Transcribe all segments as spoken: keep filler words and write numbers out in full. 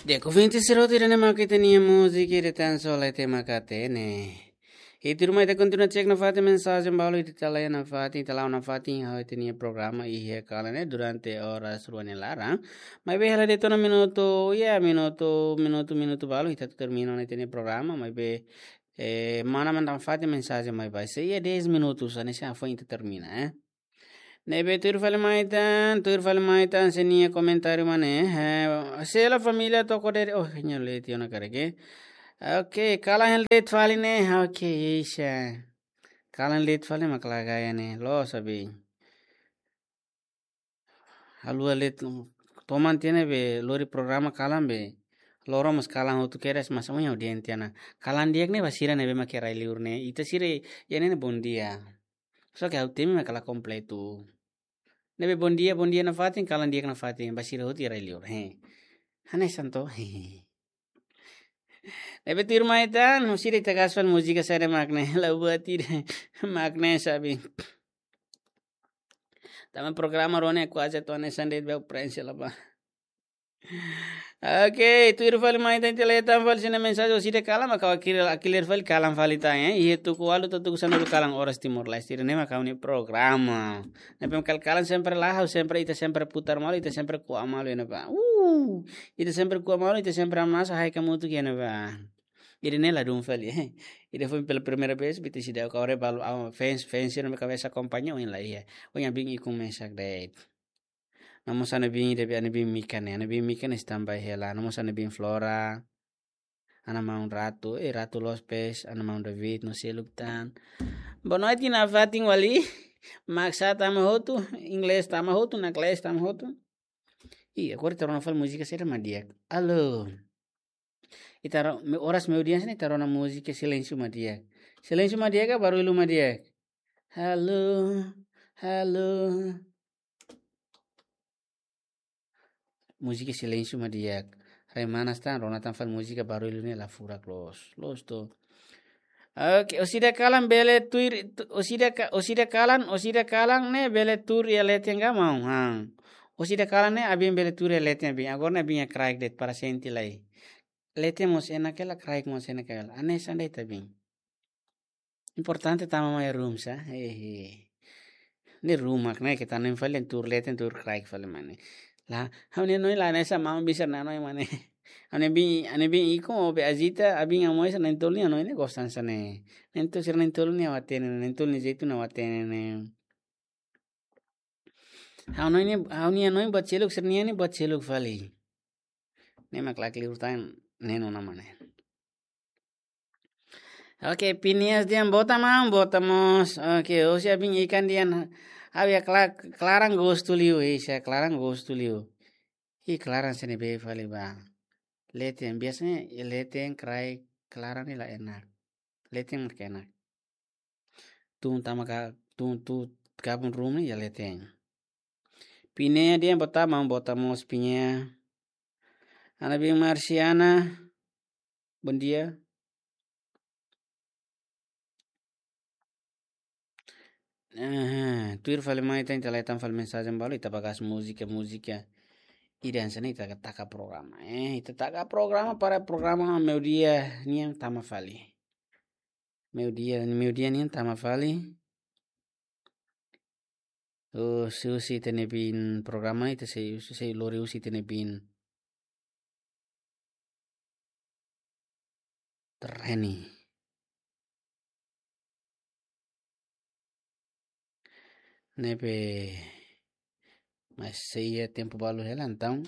Di'ak, ouvinte sira hotu, ida-ne'e mak ita-nia múzika, ida tan só leten mak hatene. I tuirmai ita kontinua cek nafatin mensajen balu, ita la'o nafatin, ita la'o nafatin, ha'u ita-nia programa iha kalan ne'e durante oras rua nia laran. Maibé hela de'it ona minutu, ya, minutu, minutu, minutu balu, ita termina ona ita-nia programa, maibé, eh, mana manda nafatin mensajen mai ba. Se iha dez minutus, hanesan foin ita termina, eh. Ne'ebé tuir fali mai tan, tuir fali mai tan, sira-nia komentáriu mak ne'e. Eh, sela família toko dere, oh, nya leti ona kareke. Oke, kalan hela de'it fali ne'e. Oke, isa. Kalan de'it fali mak la gaya ne'e. Loos abin. Haluha de'it, toman tiha ne'ebé lori programa kalan be. Loron mós kalan hotu kedas mas onya audiénsia na. Kalan di'ak ne'e ba sira ne'ebé mak rai liur ne'e. Ita sira iha ne'e ne'e bondia. Só ke ha'u temi mak la kompletu. Ne'ebé bondia, bondia nafatin, kalan di'ak nafatin, ba sira hotu rai liur. He. Hanesan to. He. Ne'ebé tuirmai tan, no sira ita gas fali múzika sira mak ne'e, la buat ida, mak ne'e sabi. Tanba programa rua ne'e kuaze to'o hanesan de'it be prensa la ba. Oke, tuir fali mai tan, ita leten fali sira-nia mensajen, orsida kalan, maka akil, akilir fali kalan fali tan, eh. Iha tuku ualu to'o tuku sanulu kalan oras Timor-Leste, ida-ne'e mak ha'u-nia programa. Ne'ebé kal kalan sempre la, ha'u sempre, ita sempre putar malu, ita sempre ko'a malu, ya, ne'ebá. Uh, ita sempre ko'a malu, ita sempre amasa, haik hamutuk, ya, ne'ebá. Ida-ne'e ladún fali, eh. Ida foin pela primeira vez, ita seidauk, agora balu, ah, fans, fans, sira-nia kabesa akompaña, ohin la iha. Ohin abin ikun mesak de'it. No mós ami-nia bin, debi ami-nia bin Mika ne'e, ami-nia bin Mika ne'e standby hela, no mós ami-nia bin Flora, ami-nia maun Ratu, eh, Ratu Lopes, ami-nia maun David, no seluk tan. Boa noite nafatin Wali, maksa tama hotu, inglés tama hotu, naklés tama hotu. Ih, agora ita rona fali múzika sira mak di'ak. Alô. Ita ro-, me-, oras meiudia hanesan ne'e ita rona múzika silénsiu mak di'ak. Silénsiu mak di'ak ka barullu mak di'ak? Halo, halo. Múzika silénsiu mak di'ak. Rai manas tan, rona tan fali múzika barullu ne'e la furak loos. Loos to. Oke, orsida kalan bele tuir, tu-, orsida ka-, orsida kalan, orsida kalan ne'e bele tuur iha leten ka maun, ha. Orsida kalan ne'e abin bele tuur iha leten abin. Agora ne'e abin iha kraik de'it para sente lai. Leten mós enak hela, kraik mós enak hela. Hanesan de'it abin. Importante tama mai room sa. Hehe. Ne'e room mak ne'e ita-nia fali tuur leten tuur kraik fali mak ne'e. La, ha'u-nia hanoin la hanesan maun bisa hanoin mak ne'e. Ha'u-nia bin, ha'u-nia bin ikun ou be ajita, abin amoi sa na'in-tolu nia hanoin ne'e gostan hanesan ne'e. Na'in-tolu sira na'in-tolu nia ha'u hatene, na'in-tolu nia jeitu ne'e ha'u hatene ne'e. Ha'u-nia hanoin ne'e, ha'u-nia hanoin buat seluk, sira-nia ne'e buat seluk fali. Ne'e mak la akil liur tan, ne'e ona mak ne'e. Oke, Pinias dehan boot maun, boot mós. Oke, orsida abin ikan dehan, ha'u iha kla-, klaran gostu liu, isa klaran gostu liu. Ih, klaran sene be fali ba. Leten, biasanya leten, kraik, klaran ne'e la enak. Leten mak enak. Tun tama ka, tun tu gabung room ne'e iha leten. Pinea dehan boot maun, boot mós Pinea. Ami-nia bin Marciana. Bondia. Eh, tuir fali mai tan, ita leten fali mensajen balu, ita ba gas múzika, múzika. Ida hanesan ne'e ita taka programa. Eh, ita taka programa para programa meiudia nian tama fali. Meiudia, meiudia nian tama fali. Oh, husi, husi ita-nia bin programa, ita sei, sei lori husi ita-nia bin. Reni. Ne'ebé mas sei iha tempu balu hela, entaun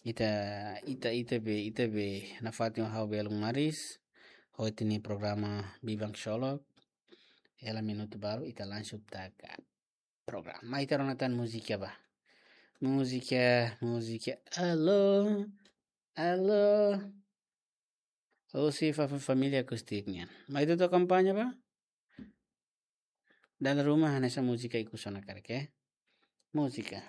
ita, ita, ita be, ita be nafatin ha'u belun maris, ho ita-nia programa Biban Sholok, hela minutu balu ita langsung taka programa. Mai ita rona tan múzika ba. Múzika, múzika. Alô, alô. Husi fa-, fa-, família Akustik nian. Mai ita atu akompaña ba. Dala ruma hanesan múzika ikus ona karik, eh. Múzika.